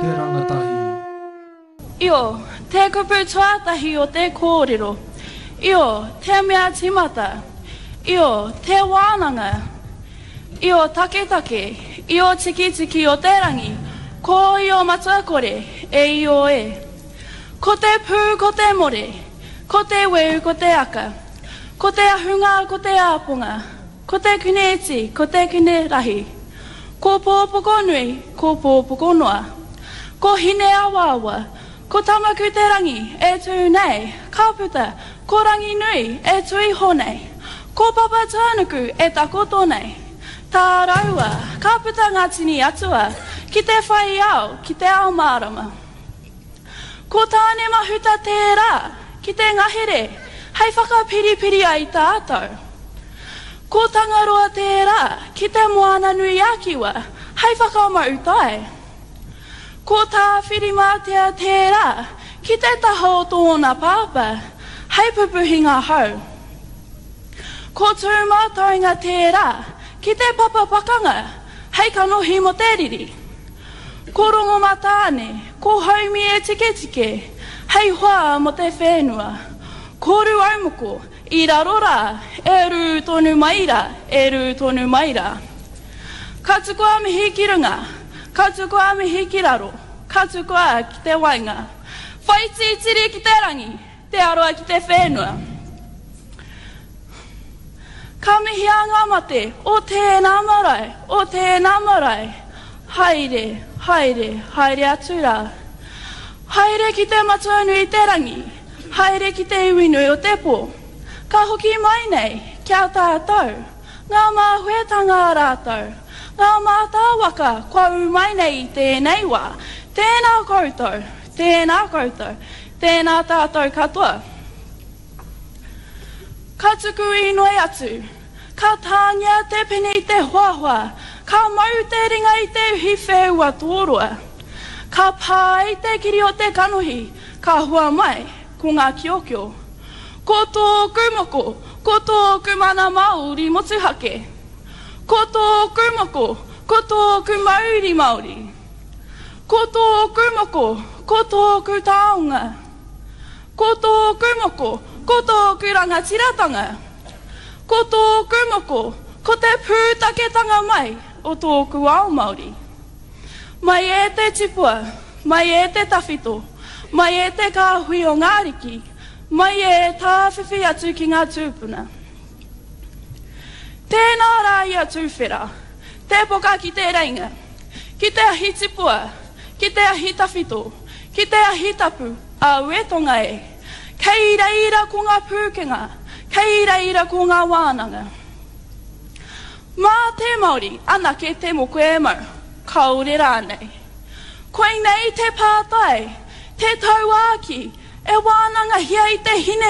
Te rangatahi. Io, te kupu tuatahi o te kōrero. Io, te mea tīmata. Io, te wānanga. Io taketake, Io tikitiki o te rangi, ko Io matua kore, e Io e. Ko te pū ko te more, ko te weu ko te aka, ko te ahunga ko te āponga, Ko te kune iti, ko te kune rahi. Ko Pōpokonui, ko Pōpokonoa. Ko Hineawaawa, ko Tamakuterangi e tū nei, ka puta, ko Ranginui e tū iho nei, ko Papatūānuku e takoto nei. Tā raua, ka puta ngā tini atua ki te whai ao, ki te ao mārama. Ko Tāne-mahuta tērā ki te ngahere hei whakapiripiri ai tātou. Ko Tangaroa tērā ki te Moana-nui-a-Kiwa hei whakamau tai. Ko Tāwhirimātea tērā ki te taha o tōna pāpā hei pupuhi ngā hau. Ko Tūmataunga tērā ki te papa pakanga hei kanohi mō te riri. Ko Rongomatāne, ko Haumie-tiketike, hei hoa mō te whenua. Ko Rūaumoko, i raro rā, e rū tonu mai rā, e rū tonu mai rā. Ka tukua mihi ki runga, ka tukua mihi ki raro, ka tukua ki te waenga. Whai tītiri ki te rangi, Te aroa ki te whenua. Ka mihia ngā mate o tēnā marae, o tēnā marae. Haere, haere, haere atu rā. Haere ki te matua nui te rangi, haere ki te iwi nui o te pō. Ka hoki mai nei ki a tātou, ngā māhuetanga a rātou, ngā mātāwaka kua ū mai nei i tēnei wā. Tēnā koutou, tēnā koutou, Tēnā tātou katoa. Ka tuku inoi atu. Ka tāngia te pene i te hoahoa, ka mau te ringa i te uhi wheua tōroa. Ka pā i te kiri o te kanohi, ka hua mai ko ngā kiokio. Ko tōku moko, ko tōku mana Māori motuhake. Ko tōku moko, ko tōku mauri Māori. Ko tōku moko, ko tōku taonga. Ko tōku moko, ko tōku rangatiratanga. Ko tōku moko, ko te pūtaketanga mai o tōku ao Māori. Mai e te tipua, mai e te tawhito, mai e te kāhui o ngā ariki, mai e tāwhiwhi atu ki ngā tūpuna. Tēnā rā ia tūwhera, te poka ki te reinga. Ki te ahi tipua, ki te ahi tawhito, ki te ahi tapu, aue tonga e. Kei reira ko ngā pūkenga, kei reira ko ngā wānanga. Mā te Māori anake te moko e mau, kāore rānei. Koinei te pātai, te tauākī, e wānangahia i te hine.